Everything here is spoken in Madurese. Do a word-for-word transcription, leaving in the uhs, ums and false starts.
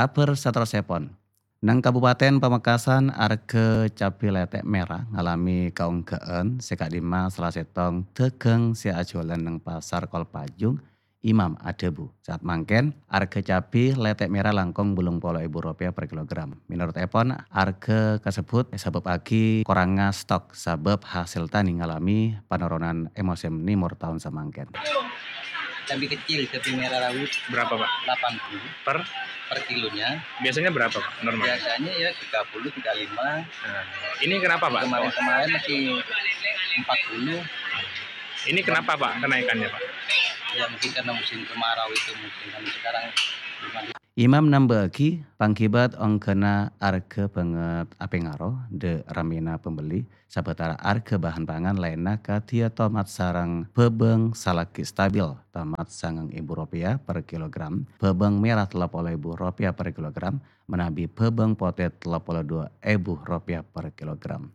Kabhâr saterrossèpon. Neng Kabupaten Pamekasan, arghâ cabbhi lètè' mèra ngalamè kaonggâ'ân sè ka'dimma sala sèttong dhâghâng sè ajhuwâlân neng Pasar Kolpajung, Imam adhâbu, saat mangkèn, arghâ cabbhi lètè' mèra langkong bâllung polo èbu ropèya per kilogram. Mènorot èpon, arghâ kasebbhut èsabâbbhâghi korangngâ stok sabâb hasèl tanè ngalamè panoronan è mosèm nèmor taon samangkèn. Cabai kecil, cabai merah rawit. Berapa, Pak? Delapan puluh. Per? Per kilonya. Biasanya berapa, Pak, normal? Biasanya ya tiga puluh, tiga lima. Nah, ini kenapa, Pak? Kemarin-kemarin masih empat puluh. Ini kenapa, Pak, kenaikannya, Pak? Ya, mungkin karena musim kemarau itu, mungkin kan sekarang belum ada. Imam nambâ'âghi, panggibât ongghâna arghâ bângèt apèngaro dâ' rammèna pambelli, sabâtara arghâ bahan pangan laènna kadhiyâ tomat sareng bhâbâng salaghi stabil, tomat sangang èbu ropèya per kilogram, bhâbâng mèra tello polo èbu ropèya per kilogram, manabi bhâbâng potè tello polo duwâ èbu ropèya per kilogram.